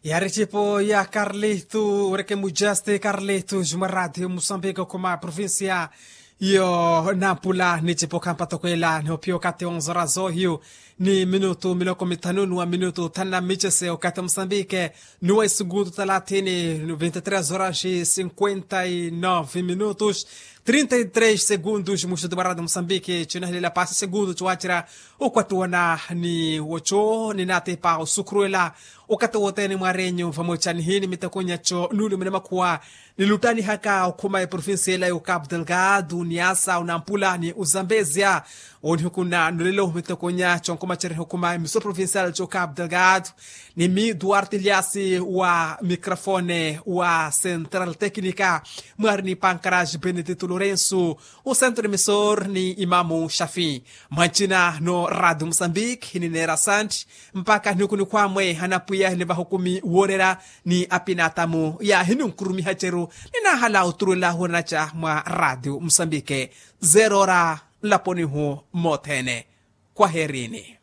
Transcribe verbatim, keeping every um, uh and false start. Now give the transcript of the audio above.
Yari ecipo ya karlistu ureke mujaste karlistu juma radio musambika okhuma provincia yo nampula ni ecipo khampatokwela ni ophiya okathi onzora zohiyu ni minutu miloko mithanu ni wa minutu thanu na micese okathi musambike ni wa isuguntu thalathini ni vinti tres horas cinquenta y nove minutus trinta y tres segundos muxuti mwa radio musambike cinahilela pasi segundu ciwacira okwattuwana ni woco ni natepa osukhuruwela okathi wothene mwarenyu vamoca nihini mitakonya co nulumene makhuwa nilutanihaka okhuma eprovincia ela yo capu delgado ni asa onampula ni ozambezia onihukuna nulelo mitakonya co nkomacereha okhuma emisoro provincial co capu delgado ni mi duarte liasi wa microfone wa central tecnica mwari ni pankaraj benedito lorenso osentro emisor ni imamu xafi mwancina no radio musambik hinineera santi mpakha nihukunikhwamwe hanapwiya hinivaha okumi woorera ni apinatamu yahininkurumiha ceru ninahala oturuwelahu onaca mwa radio musambike zerora nlaponihu mothene khwaherini